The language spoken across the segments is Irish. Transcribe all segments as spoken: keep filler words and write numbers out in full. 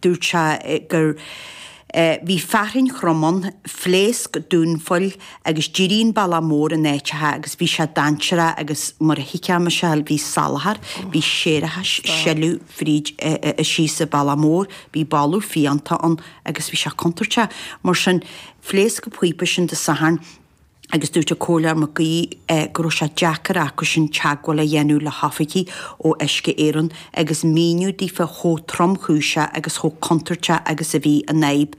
Dúirt sé gur bhí fearthainn throm ann, phléasc dúnphoill agus d'éirigh an bealach mór in áiteacha agus bhí sé dainséarach agus mar a thuigfeá, Michelle, bhí salachar, bhí séarachas, sileadh fríd síos an bealach mór, bhí boladh fiánta ann agus bhí sé contúirteach. Mar sin, phléasc an píopa sin Dé Sathairn agus dúirt an Comhairleoir Mac Aoidh go raibh sé deacair acusin teagmháil a dhéanamh le hoifigigh ó Uisce Éireann agus míniú daofa chomh tromchúiseach agus chomh contúirteach agus a bhí an fhadhb.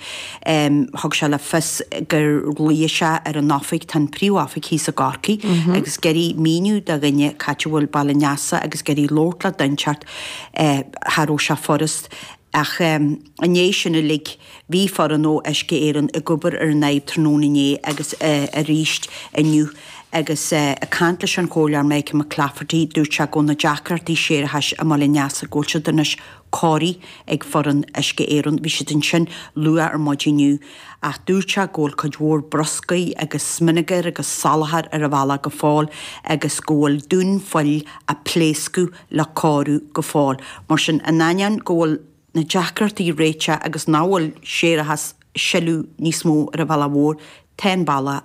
Thug sé le fios gur ghlaoigh sé ar an oifig, tá an príomh-oifig thíos i gCorcaigh, agus ag iarraidh míniú do dhuine c'áit a bhfuil Baile an Easa agus ag iarraidh labhairt le duine inteacht, cha raibh sé furast. Ach i ndiaidh sin uilig, bhí foireann ó Uisce Éireann ag obair ar an fhadhb tráthnóna inné agus arís inniu. Agus ag caint leis an Chomhairleoir Michael McClafferty, dúirt sé go bhfuil na deacrachtaí séarachais i mBaile an Easa, go bhfuil siad anois cóirithe ag foireann Uisce Éireann. Bhí siad ansin luath ar maidin inniu ach dúirt sé go bhfuil cuid mhór bruscair agus smionagar agus salachar ar an bhealach go fóill agus go bhfuil dúnphoill a pléascadh le cóiriú go fóill. Mar sin, in ainneoin go bhfuil na deacrachtaí réitithe agus nach bhfuil séarachas ag sileadh níos mó ar an bhealach mhór, tá an bealach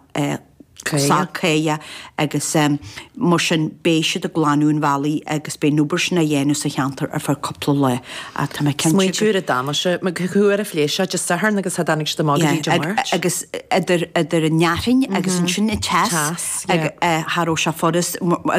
sách cáidheach agus mar sin beidh siad ag glanadh an bhealaigh agus beidh an obair sin á dhéanamh sa cheantar ar feadh cúpla lá. Ach tá mé cinnte go. Smaointiú ar an damáiste, mar cá huair a phléasc sé, Dé Sathairn agus cha dtáinig siad amach go dtí Dé Máirt. Agus idir idir an fhearthainn agus ansin an teas, cha raibh sé furast.